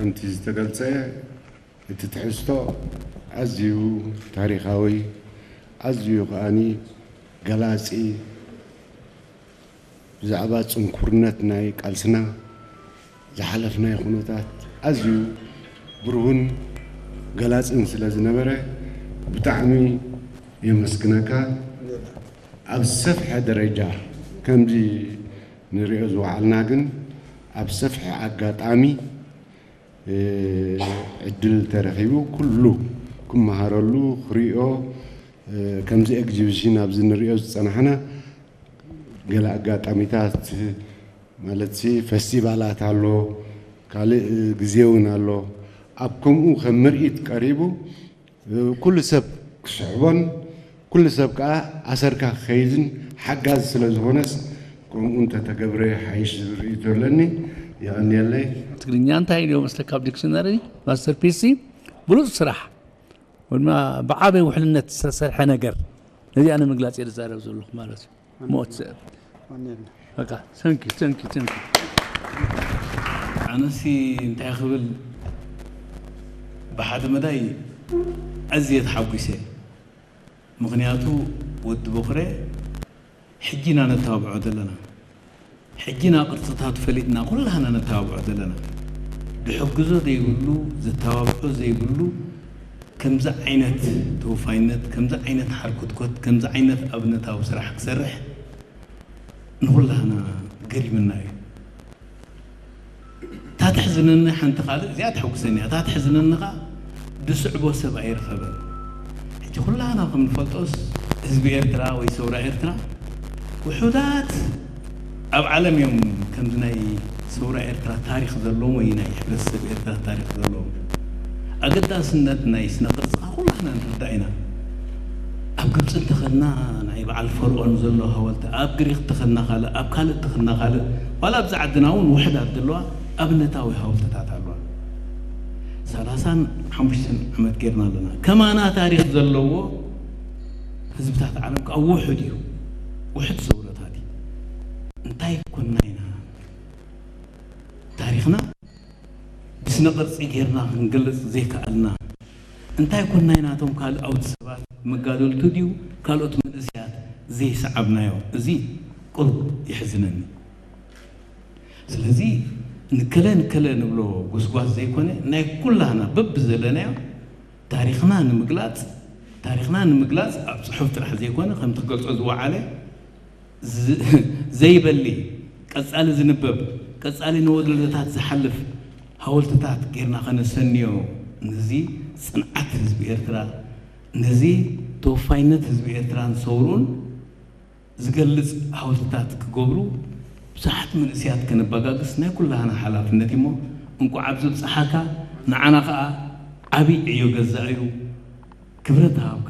እቲ ዝተገልጸ እቲ ትሕዝቶ ኣዝዩ ታሪኻዊ፣ ኣዝዩ ከኣኒ ገላጺ፣ ብዛዕባ ጽንኩርነት ናይ ቃልስና ዝሓለፍናዮ ኩነታት ኣዝዩ ብሩህን ገላጽን ስለ ዝነበረ ብጣዕሚ የመስግነካ። ኣብ ዝሰፍሐ ደረጃ ከምዚ ንሪኦ ዝወዓልና ግን ኣብ ሰፍሐ ኣጋጣሚ ዕድል ተረኺቡ ኩሉ ክመሃረሉ ክሪኦ፣ ከምዚ ኤግዚቢሽን ኣብዚ ንሪኦ ዝጸናሕና ገለ ኣጋጣሚታት ማለት ሲ ፈስቲቫላት ኣሎ፣ ካልእ ግዜ እውን ኣሎ። ኣብ ከምኡ ከም ምርኢት ቀሪቡ ኩሉ ሰብ ክስሕቦን ኩሉ ሰብ ከዓ ኣሰርካ ክኸይድን ሓጋዚ ስለ ዝኾነስ ከምኡ እንተተገብረ ሓይሽ ዝብል ርእይቶ ኣለኒ። የቐንየለይ። ትግርኛ እንታይ ኢልዎ መስለካ ኣብ ዲክሽነሪ? ማስተርፒስ ብሉፅ ስራሕ ወይ ድማ ብዓበይ ውሕልነት ዝተሰርሐ ነገር፣ ነዚኣ ንምግላፅ እየ ዝዛረብ ዘለኹ ማለት እዩ። ሞት በቃ። Thank you, thank you, thank you። ኣነሲ እንታይ ክብል፣ ብሓደ መዳይ ኣዝየ ተሓጒሰ። ምኽንያቱ ወዲ ቦኽረ ሕጂ ኢና ነተባብዖ ዘለና። ሕጂ ኢና ቅርጽታቱ ፈሊጥና ኩላህና ነተባብዖ ዘለና። ድሕግዞ ዘይብሉ፣ ዘተባብዖ ዘይብሉ፣ ከምዚ ዓይነት ተወፋይነት፣ ከምዚ ዓይነት ሓርኮትኮት፣ ከምዚ ዓይነት ኣብነታዊ ስራሕ ክሰርሕ ንኹላህና ገሪምና እዩ። እታ ተሕዝነኒ ሓንቲ ካልእ እዚኣ ተሐጉሰኒ እያ። እታ ተሕዝነኒ ኸዓ ድስዕቦ ሰብ ኣይረኸበን። ሕጂ ኩላህና ከም ንፈልጦስ ህዝቢ ኤርትራ ወይ ሰውራ ኤርትራ ውሑዳት ኣብ ዓለም እዮም ከምዚ ናይ ሰውራ ኤርትራ ታሪኽ ዘለዎም ወይ ናይ ሕብረተሰብ ኤርትራ ታሪኽ ዘለዎም። ኣገዳስነት ናይ ስነ ቅርጽ ኩላህና ንርዳእ ኢና። ኣብ ግብፂ እንተኸድና ናይ በዓል ፈርኦን ዘሎ ሃወልቲ፣ ኣብ ግሪክ እንተኸድና ካልእ፣ ኣብ ካልእ እንተኸድና ካልእ፣ ዋላ ኣብዚ ዓድና እውን ውሕዳት ዘለዋ ኣብነታዊ ሃወልትታት ኣለዋ። ሰላሳን ሓሙሽተን ዓመት ጌርና ኣለና። ከማና ታሪኽ ዘለዎ ህዝብታት ዓለም ከዓ ውሑድ እዩ። ውሑድ ሰውረታት እዩ። እንታይ ኮና ኢና ታሪኽና ብስነ ቅርጺ ጌርና ክንገልጽ ዘይከኣልና እንታይ ኮናይ ናቶም ካልኣውት ሰባት መጋደልቱ ድዩ ካልኦት መንእሰያት ዘይሰዓብናዮ? እዚ ቁሩብ የሕዝነኒ። ስለዚ ንከለ ንከለ ንብሎ ጎስጓስ ዘይኮነ ናይ ኩላህና በብዘለናዮ ታሪኽና ንምግላጽ ታሪኽና ንምግላጽ ኣብ ጽሑፍ ጥራሕ ዘይኮነ ከምቲ ክገልጾ ዝወዓለ ዘይበሊ ቀጻሊ ዝንበብ ቀጻሊ ንወለዶታት ዝሓልፍ ሃወልትታት ጌርና ከነሰንዮ ነዚ ጽንዓት ህዝቢ ኤርትራ ነዚ ተወፋይነት ህዝቢ ኤርትራን ሰውርኡን ዝገልጽ ሃወልትታት ክገብሩ ብዙሓት መንእሰያት ከነባጋግስ ናይ ኩላህና ሓላፍነት እዩሞ እንቋዕ ኣብዚ ብጽሓካ ንዓና ከኣ ዓብይ ዕዮ ገዛእ እዩ። ክብረት ሃብካ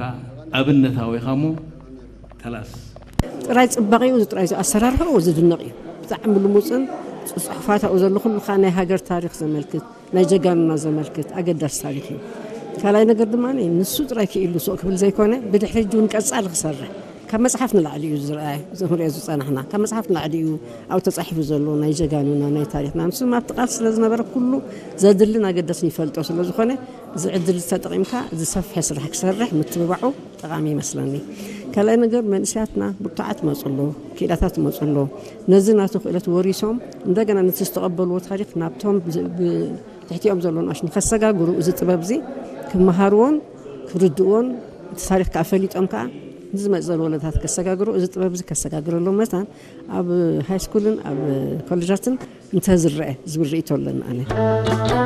ኣብነታዊ ኢኻ እሞ ከላስ። ጥራይ ጽባቐኡ እዚ ጥራይ ኣሰራርሓኡ ዝድነቕ እዩ። ብጣዕሚ ልሙጽን ጽሑፋታኡ ዘሎ ኩሉ ከኣ ናይ ሃገር ታሪኽ ዘመልክት ናይ ጀጋኑና ዘመልክት ኣገዳሲ ታሪኽ እዩ። ካልኣይ ነገር ድማ ንሱ ጥራይ ክኢሉ ሱቕ ክብል ዘይኮነ ብድሕሪ ሕጂ እውን ቀጻሊ ክሰርሕ ካብ መጽሓፍ ንላዕሊ እዩ ዝረኣየ። እዚ ክንሪኦ ዝጸናሕና ካብ መጽሓፍ ንላዕሊ እዩ ኣብኡ ተጻሒፉ ዘሎ ናይ ጀጋኑና ናይ ታሪኽና ንሱ ኣብቲ ቃልሲ ስለ ዝነበረ ኩሉ ዘድልን ኣገዳስን ይፈልጦ ስለ ዝኾነ እዚ ዕድል ተጠቒምካ ዝሰፍሐ ስራሕ ክሰርሕ ምትብባዑ ጠቓሚ ይመስለኒ። ካልኣይ ነገር መንእሰያትና ብርቱዓት ይመፁ ኣለዉ፣ ክኢላታት ይመፁ ኣለዉ። ነዚ ናቱ ክእለት ወሪሶም እንደገና ነቲ ዝተቐበልዎ ታሪክ ናብቶም ትሕቲኦም ዘሎ ንኣሽ ንከሰጋግሩ እዚ ጥበብ እዚ ክመሃርዎን ክርድእዎን እቲ ታሪክ ከዓ ፈሊጦም ከዓ ንዝመፅ ዘሎ ወለዳታት ከሰጋግሩ እዚ ጥበብ እዚ ከሰጋግረሎም መታን ኣብ ሃይስኩልን ኣብ ኮሌጃትን እንተዝረአ ዝብል ርእይቶ ኣለኒ ኣነ።